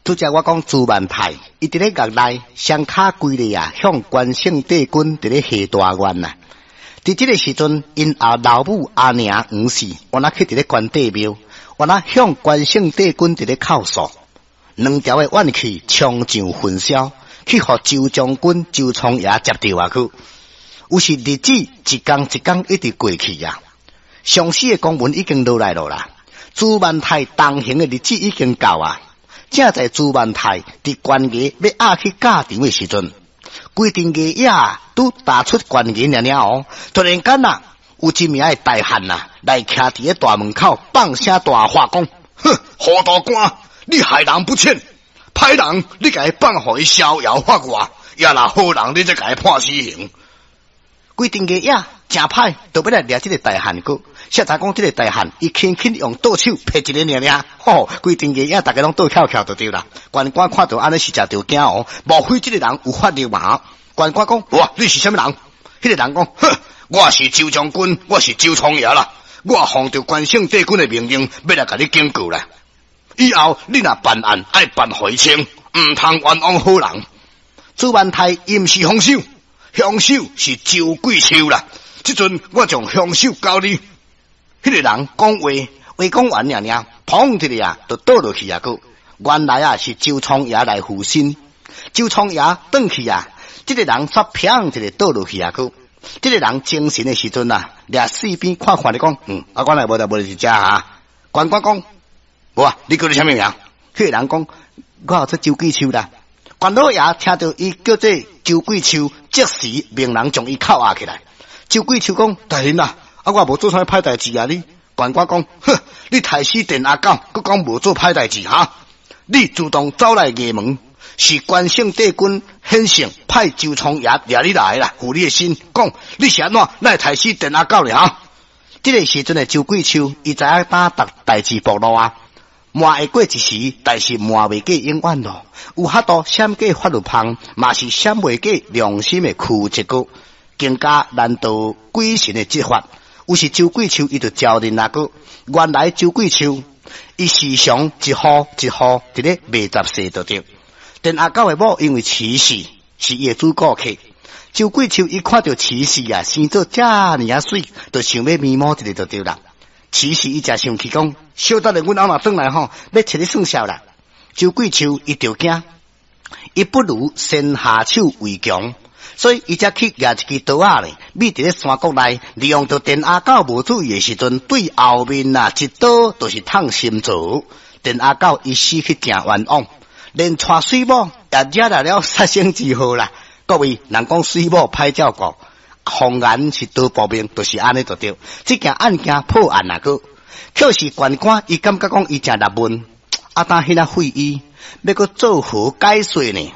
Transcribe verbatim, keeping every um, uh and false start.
拄才我講朱萬泰，伊佇咧獄內雙跤規咧啊，向關聖帝君佇咧下大願啊。佇這个時陣，𪜶阿老母阿娘黃氏，原來去佇咧關帝廟，原來向關聖帝君佇咧哭訴，兩條的怨氣衝上雲霄，去予周將軍周倉爺接著啊去。有是日子一工一工一直過去啊，上司的公文已經落來了啦。朱萬泰重刑的日子已經到啊。正在朱萬泰佇關衙欲押去教場的時陣，規陣衙役拄踏出關衙爾爾哦，突然間啊，有一名的大漢啊，來徛佇咧大門口放聲大喝講：哼，糊塗官，你害人不淺，歹人你共伊放予伊逍遙法外，也若好人你才共伊判死刑。規陣衙役誠歹，就欲來掠這个大漢閣。誰知講這个大漢，伊輕輕用倒手拍一个爾爾，吼，規陣衙役逐家攏倒翹翹就對啦。關官看著按呢實在著驚哦，莫非這个人有法力嘛？關官講：哇，你是啥物人？彼个人講：哼，我是周將軍，我是周倉爺啦。我奉著關聖帝君的命令，欲來共你警告啦。以後你若辦案，愛辦予伊清，毋通冤枉好人。朱萬泰伊毋是兇手，兇手是周桂秋啦。這陣我將兇手交你。彼个人講話，話講完爾爾，砰一下啊，就倒落去啊！閣原來啊是周倉爺來附身，周倉爺轉去啊，這个人煞砰一下倒落去啊！閣這个人精神的時陣啊，掠四邊看看咧講，嗯，啊，原來無代無佇遮哈。關官講，無啊，你叫做啥物名？彼个人講，我叫做周桂秋啦。關老爺聽著伊叫做周桂秋，即時命人將伊扣押起來。周桂秋講，大人啊！啊！我無做啥歹代誌啊！你關官講，哼！你刣死電阿狗，閣講無做歹代誌哈？你自動走來衙門，是關聖帝君顯聖派周倉爺掠你來啦，附你的身，講你是按怎來刣死電阿狗咧？哈！這个時陣的周桂秋，伊知影當逐代誌暴露啊，瞞會過一時，但是瞞袂過永遠咯。有法度閃過法律縫，嘛是閃袂過良心的屈折閣，更加難逃鬼神的執法。有時周桂秋伊就招認啊閣，原來周桂秋伊時常一戶一戶佇咧賣雜碎就對。電阿狗的某因為齊氏是伊的主顧客，周桂秋伊看著齊氏啊生做遮爾仔媠，就想欲迷摸一下就對啦。齊氏伊誠生氣講，小等下阮翁若轉來吼，欲揣你算數啦。周桂秋伊就驚，伊不如先下手為強。所以伊才去舉一支刀仔咧，覕佇咧山谷內，利用著電阿狗無注意的時陣，對後面啊一刀就是捅心臟。電阿狗伊死去誠冤枉，連娶媠某也惹來了殺身之禍啦。各位，人講媠某歹照顧，謊言是刀薄命，就是按呢就對。這件案件破案啊，閣卻是縣官伊感覺講伊誠納悶，啊，當彼若廢醫欲閣做何解說呢？